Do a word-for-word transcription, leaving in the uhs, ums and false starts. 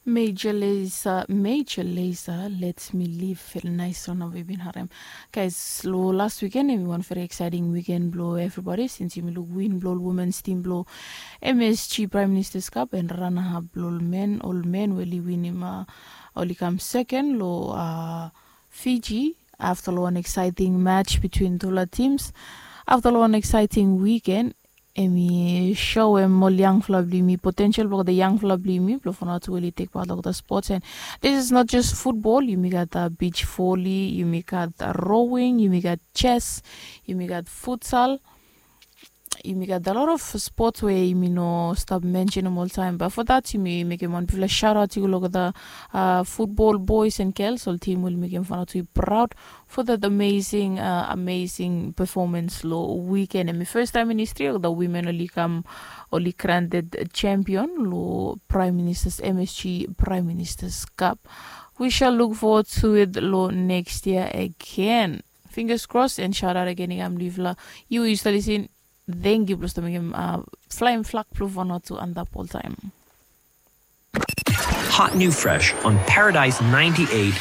Major Lazer, Major Lazer, Let Me Live. Very nice song we bin harem. Guys, lo last weekend em i wan very exciting weekend blo everybody since yumi luk win blo ol women's team blo M S G Prime Minister's Cup and runner up blo ol men, ol men we oli winim, uh, oli kam second lo, uh, Fiji. After lo wan exciting match between tufala teams, after lo wan exciting weekend, em i show em ol yangfala blo yumi, potential blo ol yangfala blo yumi blo Vanuatu oli take part lo the sports. And this is not just football. Yumi gat, uh, beach volley, yumi gat, uh, rowing, yumi gat chess, yumi gat futsal, yumi gat a lot of sports we yumi no stap mentionem oltaem. But for that, yumi mekem wan bigfala shout out i go lo the, uh, football boys and girls, ol team we oli mekem Vanuatu i proud for that amazing, uh, amazing performance lo weekend. Em i first time in history of the women oli kam, oli granted champion lo Prime Minister's, M S G Prime Minister's Cup. We shall look forward to it lo next year again. Fingers crossed and shout out again i kam lo yufala. Yu, yu stap lisin. Thank you blo stap mekem, uh, flying flag blo Vanuatu antap oltaem. Hot new fresh on Paradise ninety-eight